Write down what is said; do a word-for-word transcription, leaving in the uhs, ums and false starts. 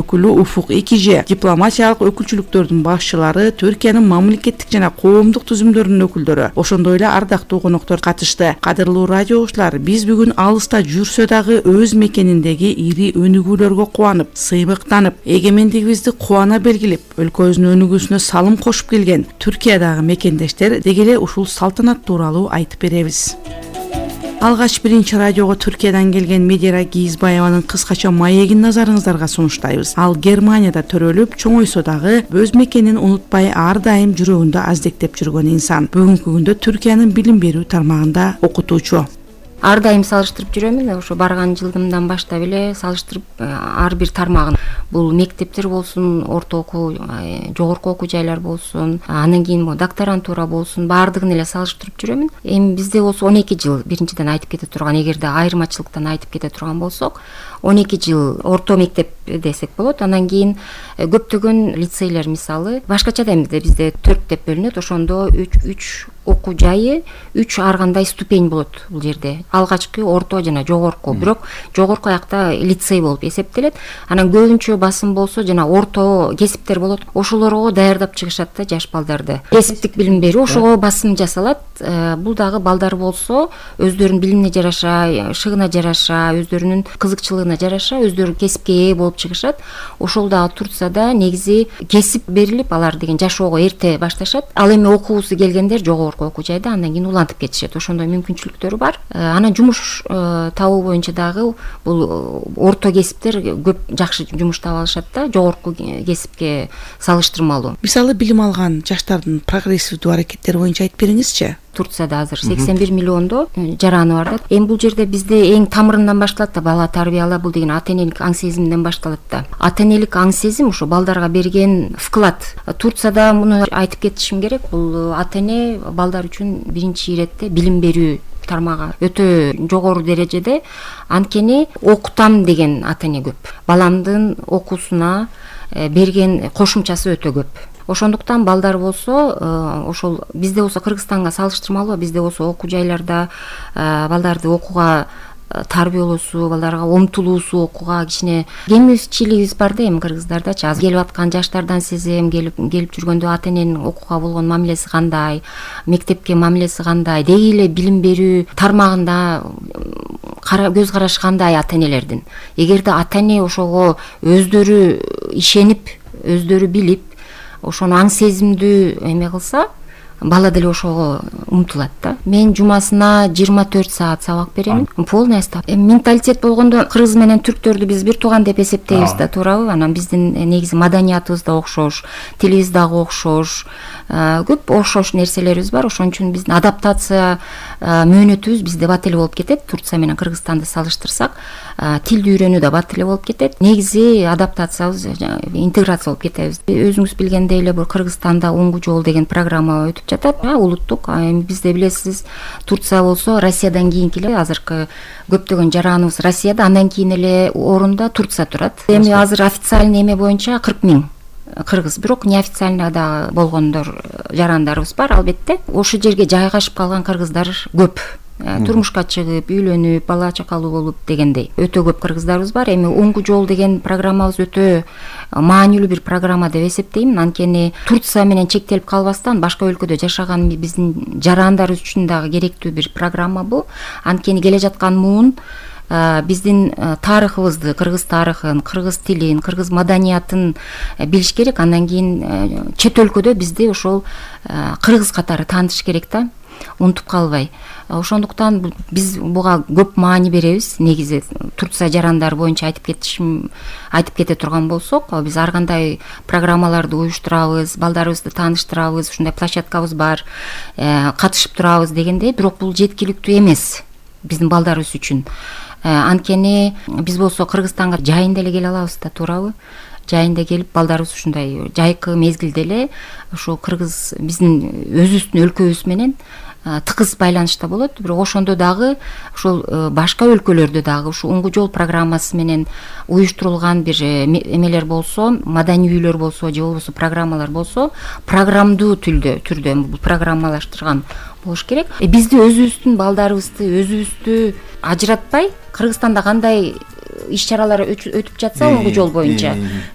өкүлү Уфук Экиже, дипломатиялык өкүлчүлүктөрдүн башчылары, Түркиянын мамлекеттик жана коомдук түзүмдөрүнүн өкүлдөрү, ошондой эле ардактуу коноктор катышты. Кадырлуу радио угуучулар, биз бүгүн алыста жүрсө дагы өз мекениндеги ири өнүгүүлөргө кубанып, сыймыктанып, эгемендигибизди кубана белгилеп, өлкөбүздүн өнүгүүсүнө салым кошуп келген Түркиядагы мекендештер деги эле ушул салтанат тууралуу айтып беребиз. Алгач биринчи радиого Түркиядан келген Медира Кийизбаеванын кыскача маегин назарыңыздарга сунуштайбыз. Ал Германияда төрөлүп, чоңойсо дагы өз мекенин унутпай, ар дайым жүрөгүндө аздектеп жүргөн инсан. Бүгүнкү күндө Түркиянын билим берүү тармагында окутуучу. Ар дайым салыштырып жүрөмүн. Ошо барган жылдымдан баштап эле салыштырып, ар бир тармагын, бул мектептер болсун, орто окуу, жогорку окуу жайлар болсун, анан кийин могу докторантура болсун, баардыгын эле салыштырып жүрөмүн. Эми бизде болсо он эки жыл, биринчиден айтып кете турган, эгерде айырмачылыктан айтып кете турган болсок, он эки жыл орто мектеп десек болот. Анан кийин көптөгөн лицейлер, мисалы, башкача да эмне, бизде төрт деп бөлүнөт. Ошондо үч окуу жайы, үч ар кандай ступень болот бул жерде. Алгачкы, орто жана жогорку. Бирок жогорку аякта лицей болуп эсептелет. Анан көбүнчө басым болсо жана орто кесиптер болот. Ошолорго даярдап чыгышат да жаш балдарды. Кесиптик билим берүү ошого басым жасалат. Бул дагы балдар болсо өздөрүнүн билимине жараша, шыгына жараша, өздөрүнүн кызыкчылыгына жараша өздөрү кесипке ээ болуп чыгышат. Ошол дагы Турцияда негизи кесип берилип, алар деген жашоого эрте башташат. Ал эми окуусу келгендер жогорку окуу жайда, андан кийин улантып кетишет. Ошондой мүмкүнчүлүктөрү бар. Анан жумуш табуу боюнча дагы бул орто кесиптер көп жакшы жумуш таба алышат да, жогорку кесипке салыштырмалуу. Мисалы, билим алган жаштардын прогрессивдүү аракеттери боюнча айтып бериңизчи. Турцияда азыр сексен бир миллиондо жараны бар да. Эми бул жерде бизде эң тамырынан башталат да, бала тарбиялап, бул деген ата энелик аң сезимден башталат да. Ата энелик аң сезим ошо балдарга берген вклад. Турцияда муну айтып кетишим керек, бул ата эне балдар үчүн биринчи иретте билим берүү тармагы өтө жогору дережеде. Анткени окутам деген ата эне көп. Баламдын окуусуна берген кошумчасы өтө көп. Ошондуктан балдар болсо, ошол бизде болсо Кыргызстанга салыштырмалуу, бизде болсо окуу жайларда балдарды окууга тарбиялоосу, балдарга умтулуусу, окууга кичине кемчилигибиз бар да эми кыргыздардачы. Азыр келип аткан жаштардан сезем, келип келип жүргөндө ата эненин окууга болгон мамилеси кандай, мектепке мамилеси кандай, деги эле билим берүү тармагында көз карашы кандай ата энелердин. Эгерде ата эне ошого өздөрү ишенип, өздөрү билип, ошону аң сезимдүү эме кылса, бала деле ошого умтулат да. Мен жумасына жыйырма төрт саат сабак берем. Полный ставка. Менталитет болгондо кыргыз менен түрктөрдү биз бир тууган деп эсептейбиз да, туурабы? Анан биздин негизи маданиятыбыз да окшош, тилибиз дагы окшош, көп окшош нерселерибиз бар. Ошон үчүн биздин адаптация мөөнөтүбүз бизде бат эле болуп кетет. Турция менен Кыргызстанды салыштырсак, тилди үйрөнүү да бат эле болуп кетет. Негизи адаптациябыз, интеграция болуп кетебиз. Өзүңүз билгендей эле бул Кыргызстанда Уңгу жол деген программа өтүп жатат. Улуттук. Эми бизде билесиз, Турция болсо Россиядан кийинки эле азыркы көптөгөн жараныбыз Россияда, андан кийин эле орунда Турция турат. Эми азыр официальный эме боюнча кырк миң кыргыз, бирок неофициально да болгондор жарандарыбыз бар, албетте. Ошол жерге жайгашып калган кыргыздар көп. Турмушка чыгып, үйлөнүп, бала чакалуу болуп дегендей өтө көп кыргыздарыбыз бар. Эми Уңгу жол деген программабыз өтө маанилүү бир программа деп эсептейм. Анткени Турция менен чектелип калбастан башка өлкөдө жашаган биздин жарандарыбыз үчүн дагы керектүү бир программа бул. Анткени келе жаткан муун биздин тарыхыбызды, кыргыз тарыхын, кыргыз тилин, кыргыз маданиятын билиш керек. Андан кийин чет өлкөдө бизди ошол кыргыз катары таанытыш керек да, унутуп калбай. Ошондуктан биз буга көп маани беребиз. Негизи Турция жарандары боюнча айтып кетишим, айтып кете турган болсок, биз ар кандай программаларды уюштурабыз, балдарыбызды тааныштырабыз, ушундай площадкабыз бар, катышып турабыз дегендей. Бирок бул жеткиликтүү эмес биздин балдарыбыз үчүн. Анткени биз болсо Кыргызстанга жайында эле келе алабыз да, туурабы? Жайында келип балдарыбыз ушундай жайкы мезгилде эле ошо кыргыз биздин өзүбүздүн өлкөбүз менен тыгыз байланышта болот. Бирок ошондо дагы ошол башка өлкөлөрдө дагы ушу Уңгу жол программасы менен уюштурулган бир эмелер болсо, маданий үйлөр болсо, же болбосо программалар болсо, программдуу түрдө түрдө бул программалаштырган болуш керек. Бизди өзүбүздүн балдарыбызды өзүбүздү ажыратпай, Кыргызстанда кандай иш чаралар өтүп жатса Уңгу жол боюнча